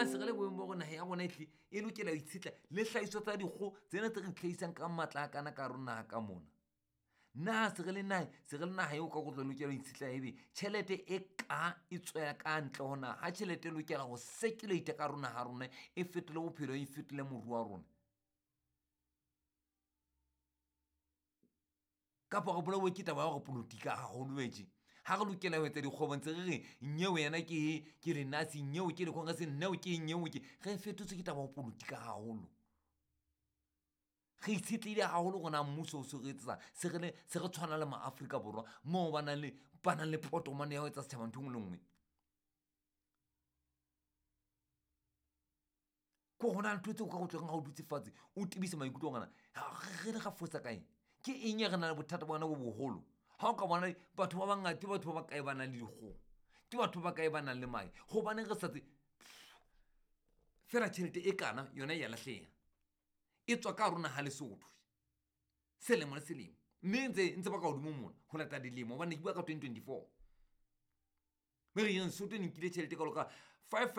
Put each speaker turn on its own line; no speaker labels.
Na se re le boemong ba gore naga ya rona etlhe e lokela ho itshetla le hlahiswa tsa dikgo tsena tse re tlhahisang ka matla a kana ka hare ho naha ka mona? Na se re le naha, se re le naha eo ka kotlo lokela ho itshetla ebe tjhelete e ka e tswela ka ntle ho naha, ha tjhelete e lokela ho circulate ka hare ho naha ya rona, e fetole bophelo, e fetole moruo wa rona? Kapa re bolauwe ke taba ya hore politika haholo tje? Ha re lokela ho etsa dikgwebo ntse re re nyeo yena ke ke lenasi, nyeo ke le-congress, neo ke nyeo ke re fetotswe ke taba ya politika haholo. Re itshetlehile haholo hore na mmuso o se re etsetsa, se re le se re tshwana le ma-Afrika Borwa moo ba nang le potomane ya ho etsa setjhaba ntho e nngwe le nngwe. Ko ho na le ntho tseo ka go tlong ha o dutse fatshe o tebise maikutlo ngwana re le ra fosa kae, ke eng e re na le bothata bona bo boholo? Ha o ka bona batho ba bangata, ke batho ba bakae ba nang le dikgoho, ke batho ba bakae ba nang le mahe? Hobaneng re sa tse fela tjhelete e kana yona e ya lahleha, e tswa ka hare ho naha Lesotho selemo le selemo, mme ntse ba ka hodimo mona ho lata dilemo, hobane ke bua ka 2024, mme re yeng Lesotho e nkile tjhelete e kalo ka five